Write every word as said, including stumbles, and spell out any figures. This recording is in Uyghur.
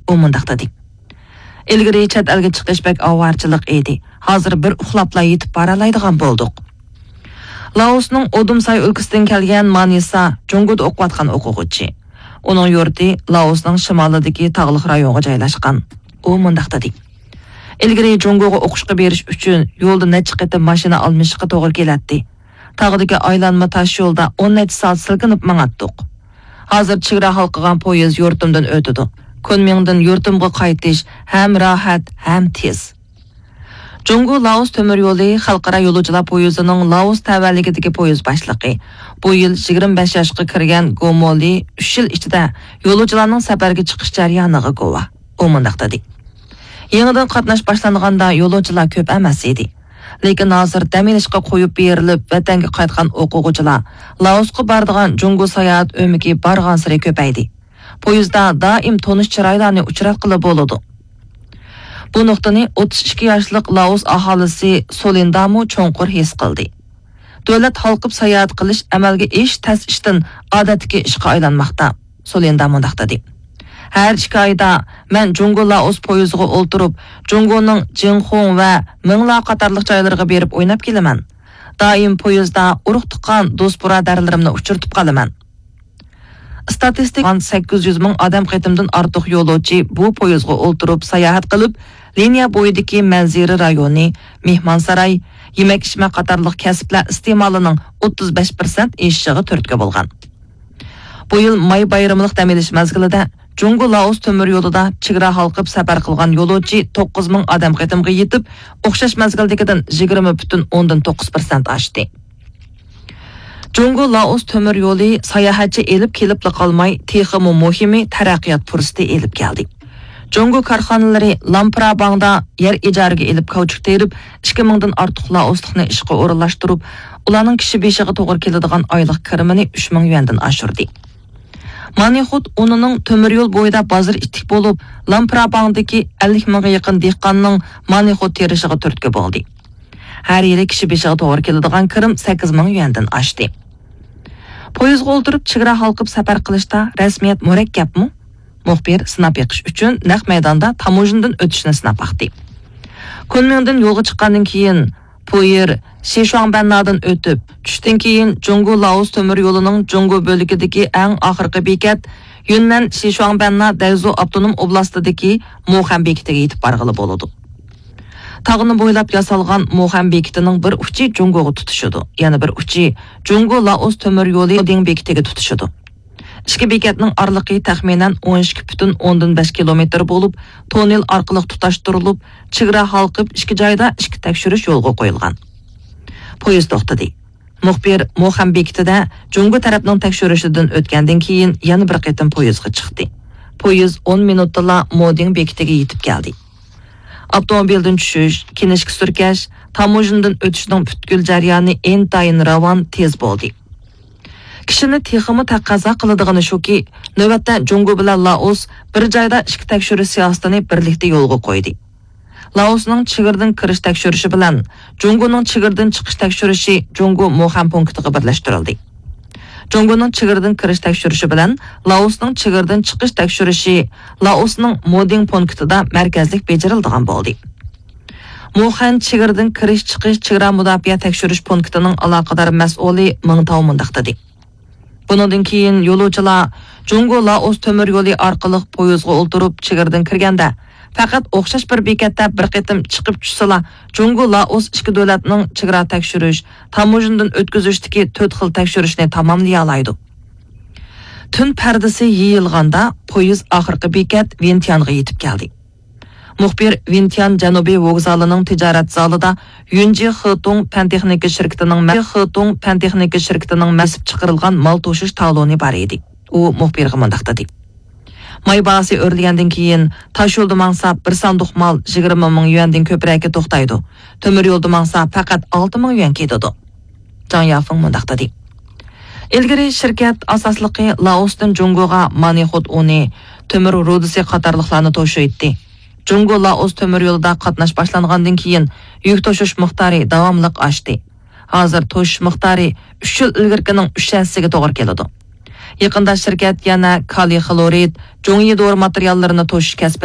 ئۇ مۇنداق دېدى: ئىلگىرى چەت ئەلگە چىقىش بەك ئاۋارىچىلىق ئىدى. ھازىر بىر ئۇخلاپلا يېتىپ بارالايدىغان بولدۇق. لائوسنىڭ ئودۇمساي ئۆلكىسىدىن كەلگەن مانىسا جۇڭگودا ئوقۇۋاتقان ئوقۇغۇچى. ئۇنىڭ يۇرتى لائوسنىڭ شىمالىدىكى تاغلىق رايونغا جايلاشقان. ئۇ مۇنداق دېدى: ئىلگىرى جۇڭگوغا ئوقۇشقا بېرىش ئۈچۈن يولدا نەچچە قېتىم ماشىنا ئالمىشىشقا توغرا كېلەتتى. تاغدىكى ئايلانما تاش يولدا ئون نەچچە سائەت سىلكىنىپ ماڭاتتۇق. ھازىر چېگرا ھالقىغان پويىز يۇرتۇمدىن ئۆتىدۇ. كۈنمىڭدىن يۇرتۇمغا قايتىش ھەم راھەت، ھەم تېز. جۇڭگو لائوس تۆمۈر يولى خەلقئارا يولۇچىلار پويىزىنىڭ لائوس تەۋەلىكىدىكى پويىز باشلىقى. بۇ يىل يىگىرمە بەش ياشقا كىرگەن گومولى ئۈچ يىل ئىچىدە يولۇچىلارنىڭ سەپەرگە چىقىش جەريانىغا گۇۋاھ. ئۇ مۇنداق دېدى: يېڭىدىن قاتناش باشلانغاندا يولۇچىلار كۆپ ئەمەس ئىدى. لېكىن ھازىر دەم ئېلىشقا قويۇپ بېرىلىپ، ۋەتەنگە قايتقان ئوقۇغۇچىلار، لائوسقا بارىدىغان جۇڭگو ساياھەت ئۆمىكى بارغانسېرى كۆپەيدى. پويىزدا دائىم تونۇش چىرايلارنى ئۇچراتقىلى بولىدۇ. بۇ نۇقتىنى ئوتتۇز ئىككى ياشلىق لائوس ئاھالىسى سولىندامۇ چوڭقۇر ھېس قىلدى. دۆلەت ھالقىپ ساياھەت قىلىش ئەمەلگە ئېشىش تەس ئىشتىن ئادەتتىكى ئىشقا ئايلانماقتا. سولىندا مۇنداق دېدى: ھەر ئىككى ئايدا مەن جۇڭگو لائوس پويىزىغا ئولتۇرۇپ، جۇڭگونىڭ جىڭخۇڭ ۋە مىڭلا قاتارلىق جايلىرىغا بېرىپ ئويناپ كېلىمەن. دائىم پويىزدا ئۇرۇق-تۇغقان، دوست-بۇرادەرلىرىمنى ئۇچرىتىپ قالىمەن. ئىستاتىستىك سەككىز يۈز مىڭ ئادەم قېتىمدىن ئارتۇق يولۇچى بۇ پويىزغا ئولتۇرۇپ ساياھەت قىلىپ، لىنىيە بويىدىكى مەنزىرە رايونى، مېھمانساراي، يېمەك-ئىچمەك قاتارلىق كەسىپلەر ئىستېمالىنىڭ ئوتتۇز بەش پىرسەنت ئېشىشىغا تۈرتكە بولغان. بۇ يىل ماي بايرىملىق دەم ئېلىش مەزگىلىدە جۇڭگو لائوس تۆمۈر يولىدا چېگرا ھالقىپ سەپەر قىلغان يولۇچى توققۇز مىڭ ئادەم قېتىمغا يېتىپ، ئوخشاش مەزگىلدىكىدىن يىگىرمە پۈتۈن ئوندىن توققۇز پىرسەنت ئاشتى. جۇڭگو لائوس تۆمۈر يولى ساياھەتچى ئېلىپ كېلىپلا قالماي، تېخىمۇ مۇھىمى تەرەققىيات پۇرسىتى ئېلىپ كەلدى. جۇڭگو كارخانىلىرى لامپراباڭدا يەر ئىجارىگە ئېلىپ كاۋچۇك تېرىپ، ئىككى مىڭدىن ئارتۇق لائوسلۇقنى ئىشقا ئورۇنلاشتۇرۇپ، ئۇلارنىڭ كىشى بېشىغا توغرا كېلىدىغان ئايلىق كىرىمىنى ئۈچ مىڭ يۈەندىن ئاشۇردى. مانىخوت ئۇنىنىڭ تۆمۈر يول بويىدا بازىرى ئىتتىك بولۇپ، لامپراباڭدىكى ئەللىك مىڭغا يېقىن دېھقاننىڭ مانىخوت تېرىشىغا تۈرتكە بولدى. ھەر يىلى كىشى بېشىغا توغرا كېلىدىغان كىرىم سەككىز مىڭ يۈەندىن ئاشتى. پويىزغا ئولتۇرۇپ چېگرا ھالقىپ سەپەر قىلىشتا رەسمىيەت مۇرەككەپمۇ؟ مۇخبىر سىناپ بېقىش ئۈچۈن نەق مەيداندا تاموژنىدىن ئۆتۈشنى سىناپ باقتى. كۇنمىڭدىن يولغا چىققاندىن كېيىن، پويىر شىشۇاڭبەننادىن ئۆتۈپ، چۈشتىن كېيىن جۇڭگو لائوس تۆمۈر يولىنىڭ جۇڭگو بۆلىكىدىكى ئەڭ ئاخىرقى بېكەت، يۈننەن شىشۇاڭبەننا دەيزۇ ئاپتونوم ئوبلاستىدىكى موخەن بېكىتىگە يېتىپ بارغىلى بولىدۇ. تاغنى بويلاپ ياسالغان موخەن بېكىتىنىڭ بىر ئۇچى جۇڭگوغا تۇتىشىدۇ، يەنە بىر ئۇچى جۇڭگو لائوس تۆمۈر يولى دىڭ بېكىتىگە تۇتىشىدۇ. ئىككى بېكەتنىڭ ئارىلىقى تەخمىنەن ئون ئىككى پۈتۈن ئوندىن بەش كىلومېتىر بولۇپ، توننېل ئارقىلىق تۇتاشتۇرۇلۇپ، چېگرا ھالقىپ ئىككى جايدا ئىككى تەكشۈرۈش يولغا قويۇلغان. پويىز توختىدى. مۇخبىر موخەن بېكىتىدە جۇڭگو تەرەپنىڭ تەكشۈرۈشىدىن ئۆتكەندىن كېيىن يەنە بىر قېتىم پويىزغا چىقتى. پويىز ئون مىنۇتتىلا مودىڭ بېكىتىگە يېتىپ كەلدى. ئاپتوموبىلدىن چۈشۈش، كىنىشكا سۈركەش، تاموژنىدىن ئۆتۈشنىڭ پۈتكۈل جەريانى ئىنتايىن راۋان، تېز بولدى. كىشىنى تېخىمۇ تەقەززا قىلىدىغىنى شۇكى، نۆۋەتتە جۇڭگو بىلەن لائوس بىر جايدا ئىچكى تەكشۈرۈش سىياسىتىنى بىرلىكتە يولغا قويدى. لائوسنىڭ چېگرىدىن كىرىش تەكشۈرۈشى بىلەن جۇڭگونىڭ چېگرىدىن چىقىش تەكشۈرۈشى جۇڭگو موخەن پونكىتىغا بىرلەشتۈرۈلدى. جۇڭگونىڭ چېگرىدىن كىرىش تەكشۈرۈشى بىلەن لائوسنىڭ چېگرىدىن چىقىش تەكشۈرۈشى لائوسنىڭ مودىڭ پونكىتىدا مەركەزلىك بېجىرىلىدىغان بولدى. موخەن چېگرىدىن كىرىش-چىقىش چېگرا مۇداپىئە تەكشۈرۈش پونكىتىنىڭ ئالاقىدار مەسئۇلى مىڭ تاۋ مۇنداق دېدى. بۇنىڭدىن كېيىن يولۇچىلار جۇڭگو لائوس تۆمۈر يولى ئارقىلىق پويىزغا ئولتۇرۇپ چېگرىدىن كىرگەندە، پەقەت ئوخشاش بىر بېكەتتە بىر قېتىم چىقىپ چۈشسىلا، جۇڭگو لائوس ئىككى دۆلەتنىڭ چېگرا تەكشۈرۈش، تاموژنىدىن ئۆتكۈزۈشتىكى تۆت خىل تەكشۈرۈشنى تاماملىيالايدۇ. تۈن پەردىسى يېيىلغاندا، پويىز ئاخىرقى بېكەت ۋىنتيانغا يېتىپ كەلدى. مۇخبىر ۋىنتيان جەنۇبىي ۋوگزالىنىڭ تىجارەت زالىدا يۈنجى خېتۇڭ پەن تېخنىكا شىركىتىنىڭ مە-، خېتۇڭ پەن تېخنىكا شىركىتىنىڭ مە-، بېسىپ چىقىرىلغان مال توشۇش تالونى بار ئىدى. ئۇ مۇخبىرغا مۇنداق دېدى: ماي باھاسى ئۆرلىگەندىن كېيىن، تاش يولدا ماڭسا، بىر ساندۇق مال يىگىرمە مىڭ يۈەندىن كۆپرەككە توختايدۇ. تۆمۈر يولدا ماڭسا، پەقەت ئالتە مىڭ يۈەن كېتىدۇ. جاڭ يافېڭ مۇنداق دېدى: ئىلگىرى شىركەت ئاساسلىقى لائوستىن جۇڭگوغا مانىخوت ئۇنى، تۆمۈر رۇدىسى قاتارلىقلارنى توشۇيتتى. جۇڭگو لائوس تۆمۈر يولىدا قاتناش باشلانغاندىن كېيىن، يۈك توشۇش مىقدارى داۋاملىق ئاشتى. ھازىر توشۇش مىقدارى ئۈچ يىل ئىلگىرىكىنىڭ ئۈچ ھەسسىسىگە توغرا كېلىدۇ. يېقىندا شىركەت يەنە كالىي خلورىد، جۇڭيى دورا ماتېرىياللىرىنى توشۇش كەسپىنى